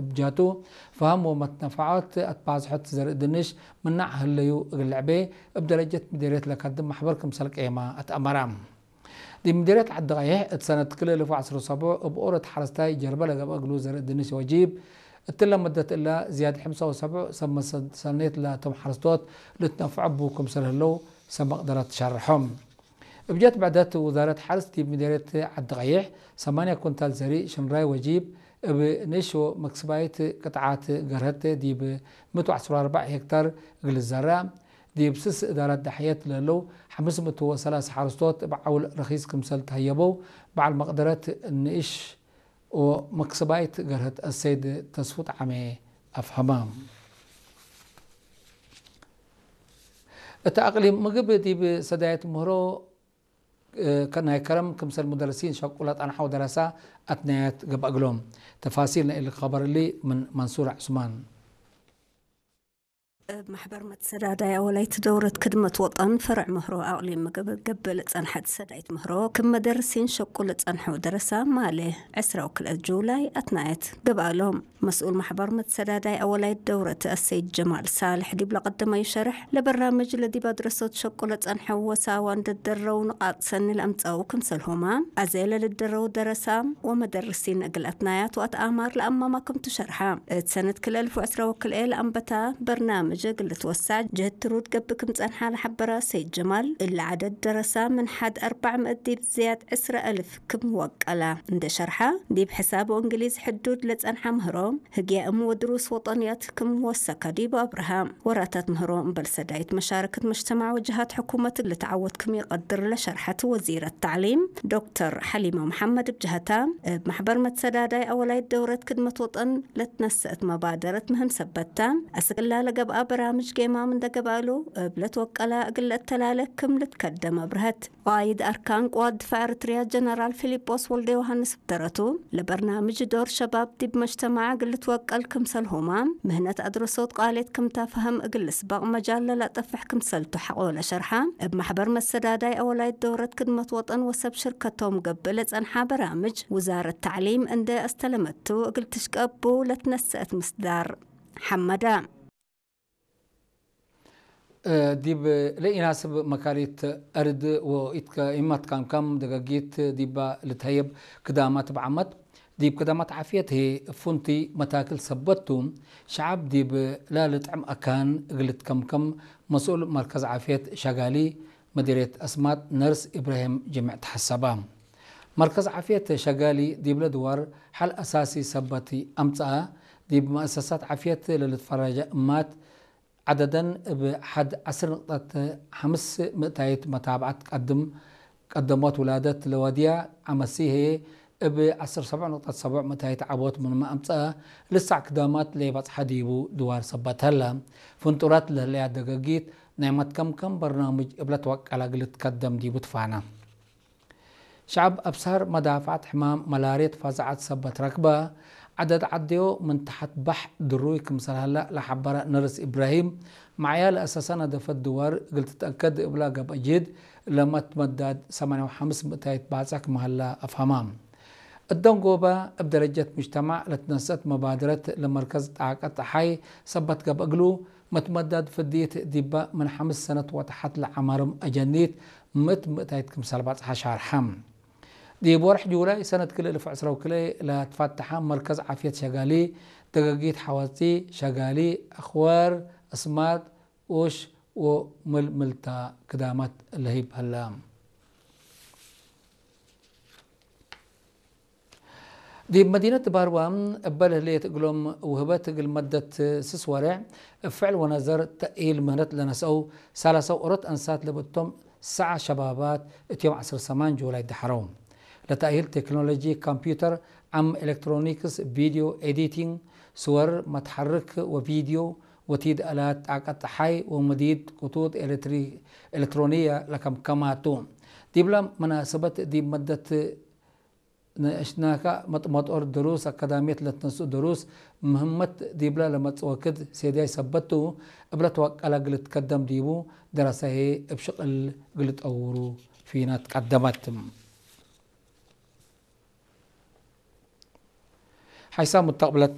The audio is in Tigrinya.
ብጃቱ ፋሃም ወመትነፋዖት ኣትባዝሖት ዘርኢ ድንሽ ምናዕ ህለዩ እግልዕቤ እብ ደረጀት ምዴርየት ለካድም ማሕበር ክምሰል ቀየማ ኣትኣመራ። ዲብ ምዴርየት ዓዲ ቀይሕ እት ሰነት ክልኤ እልፍ ወዐስር ወሰቡዕ እብ ኦረት ሓረስታይ ጀርበ ለገብአ እግሉ ዘርኢ ድንሽ ወጂብ እትለ መደት እላ ዝያድ ሕምሳ ወሰቡዕ ሰብ መሰ-፣ ሰኔት ላቶም ሓረስቶት ልትነፍዖ ቡ ክምሰል ህለው ሰብ መቅደረት ሸርሖም። እብ ጀት ብዕደት ውዛረት ሓርስ ዲብ ምዴርየት ዓዲ ቀይሕ ሰማንያ ኩንታል ዘሪእ ሽንራይ ወጂብ እብ ንእሽ ወመክስባይት ቅጥዓት ገርሀት ዲብ ምእት ወዐስር ወአርባዕ ሄክታር እግል ዘራ፣ ዲብ ስስ እዳራት ዳሕየት ለህለው ሐምስ ምእት ወሰላሳ ሓረስቶት እብ ዓውል ረኺስ ክምሰል ተሀየበው በዓል መቅደረት ንእሽ ወመክስባይት ገርሀት አሰይድ ተስፉ ጠዓሜ አፍሀማ። እት አቅሊም ምግብ ዲብ ሰዳየት ምህሮ፣ እ፣ ከ-፣ ናይ ከረም ክምሰል ሙደርሲን ሸቁ ለጠንሐው ደረሳ አትናያት ገብአ እግሎም። ተፋሲል ናይ እሊ ኸበር እሊ ምን መንሱር ዑስማን። እብ ማሕበር መትሰዳዳይ አወላይት ደውረት ክድመት ወጠን ፈርዕ ምህሮ አቅሊም ምግብ ገብእ ለጸንሐት ሰዳይት ምህሮ ክም መደርሲን ሸቁ ለጸንሐው ደረሳ ማሌ ዕስራ ወክልኤ ጁላይ አትናየት ገብአ እሎም። መስኡል ማሕበር መትሰዳዳይ አወላይት ደውረት አሰይድ ጀማል ሳልሕ ዲብ ለቀደመዩ ሸርሕ፣ ለበራምጅ ለዲብ አድረሶት ሸቁ ለጸንሐው ወሳዋ እንደ ደረው ንቃጥ ሰኒ ለአምጸው ክምሰልሁማ፣ አዜ ለልደረው ደረሳ ወመደርሲን እግል አትናያት ወአትአማር ለአማማ ክምቱ ሸርሐ። እት ሰነት ክልኤ እልፍ ወዕስራ ወክልኤ ለአንበታ በርናምጅ እግል ልትወሳዕ ጀህት ትሩድ ገብእ ክም ጸንሓ ለሐበረ አሰይድ ጀማል፣ እለ ዐደድ ደረሳ ምን ሐድ አርባዕ ምእት ዲብ ዝያድ ዕስራ እልፍ ክም ወቀላ እንደ ሸርሐ፣ ዲብ ሕሳብ ወእንግሊዝ ሕዱድ ለጸንሐ ምህሮ፣ ህግየ እም ወድሩስ ወጠንያት ክም ወሰከ ዲብ አብርሃ። ወራታት ምህሮ እምበል ሰዳይት መሻረከት መጅተማዕ ወጀሃት ሕኩመት ልትዓወት ክም ይቀድር ለሸርሐት ወዚረት ተዕሊም ዶክተር ሐሊማ መሐመድ እብ ጀህታ፣ እብ ማሕበር መትሰዳዳይ አወላይት ደውረት ክድመት ወጠን ለትነሰአት መባደረት ምህም ሰበታ፣ አስቅላ ለገብአ በራምጅ ጌማም እንደ ገብአሉ፣ እብ ለትወቀላ እግል ለእተላለ ክም ልትከደም አብርሀት። ቃይድ አርካን ቅዋት ድፋዕ ኤርትርያ ጀነራል ፊሊጶስ ወልደ ዮሃንስ ብደረቱ፣ ለበርናምጅ ዶር ሸባብ ዲብ መጅተማዕ እግል ልትወቀል ክምሰልሁማ፣ ምህነት አድረሶት ቃሌት ክም ታፈህም እግል ልስበቅ መጃል ለላጠፍሕ ክምሰልቱ ሐቆ ለሸርሐ፣ እብ ማሕበር መሰዳዳይ አወላይት ደውረት ክድመት ወጠን ወሰብ ሽርከቶም ገብእ ለጸንሐ በራምጅ ውዛረት ተዕሊም እንደ አስተለመቱ እግል ትሽቀቡ ለትነሰአት ምስዳር ሐመዳ። እ፣ ዲብ ለኢናስብ መካሪት አርድ ወኢትከ-፣ ኢማትካምካም ደገጊት ዲባ ልትሀየብ ክዳማት ብዓመት፣ ዲብ ክዳማት ዓፍየት ህዬ ፉንቲ መታክል ሰበቱ፣ ሸዓብ ዲብ ላልጥዕም አካን እግል ልትከምከም መስኡል መርከዝ ዓፍየት ሸጋሊ መዲርየት አስማጥ ነርስ ኢብራሂም ጅምዕ ተሐሰባ። መርከዝ ዓፍየት ሸጋሊ ዲብለ ድዋር ሐል አሳሲ ሰበት አምጽአ፣ ዲብ መአሰሳት ዓፍየት ለልትፈረጀ እማት ዐደደን እብ ሐድ ዐስር ንቅጠት ሐምስ ምእታይት መታብዐት ቀድም ቀደሞት ውላደት ለወድያ ዐመሲ ህዬ እብ ዐስር ሰብዕ ንቅጠት ሰብዕ ምእታይት ዐቦት ምንመ አምጽአ፣ ልሳዕ ክዳማት ለይበጽሐ ዲቡ ድዋር ሰበት ሀለ። ፍንጡራት ለህለያ ደገጊት ናይ መትከምከም በርናምጅ እብ ለትወቀለ እግል ልትከደም ዲቡ ትፋነ። ሸዐብ አብሳር መዳፈዐት ሕማም መላርየት ፋዛዐት ሰበት ረክበ፣ ዐደድ ዐደዮ ምን ተሐት ባሕ ድሩይ ክምሰል ሀለ ለሐበረ ነርስ ኢብራሂም፣ መዕያ ለአሰሰነ ደፈት ድዋር እግል ትትአከድ እብላ ገብአ ጅህድ ለመትመዳድ ሰማንያ ወሐምስ ምእታይት ባጽዕ ክም ሀለ አፍሀማ። እት ደንጎበ እብ ደረጀት ሙጅተማዕ ለትነሰአት መባደረት ለመርከዝ ጣቀት ጸሓይ ሰበት ገብአ እግሉ፣ መትመዳድ ፍድየት ዲበ ምን ሐምስ ሰነት ወተሐት ለዐመርም አጀኒት ምእት ምእታይት ክምሰል ባጽሐ ሻርሐ። ዲብ ወርሕ ጁላይ ሰነት ክልኤ እልፍ ዕስራ ወክልኤ ለትፈተሐ መርከዝ ዓፍየት ሸጋሊ፣ ደገጊት ሐዋጺ ሸጋሊ፣ አኽዋር፣ አስማጥ፣ ኡሽ ወምልምልታ ክዳማት ለህይብ ሀለ። ዲብ መዲነት ባርዋ እበ ለህሌት እግሎም ውህበት እግል መደት ስስ ወሬዕ እብ ፍዕል ወነዘር ተእሂል ምህነት ለነስአው ሰላሳ ኦሮት አንሳት ለብእቶም ሰዓ ሸባባት እት ዮም ዐስር ሰማን ጁላይ ደሐረው። ለተእሂል ቴክኖሎጂ ኮምፒውተር፣ ዓም ኤሌክትሮኒክስ፣ ቪድዮ ኤዲቲንግ፣ ስወር፣ መትሐርክ ወቪድዮ፣ ወቲድ አላት ጣቀት ጸሓይ ወመዲድ ክቱት ኤሌክትሪ-፣ ኤሌክትሮኒየ ለከምከማቱ። ዲብለ መናሰበት ዲብ መደት ነሽናካ መጥመጦር ድሩስ አካዳሚየት ለትነስኡ ድሩስ ምህመት ዲብለ ለመጽእ ወክድ ሴድያይ ሰበቱ እብለ ተወቀለ እግል ትከደም ዲቡ ደረሰ ህዬ እብ ሽቅል እግል ጠውሩ ፊናት ቀደመት። ሓይሳ ሙተቅብለት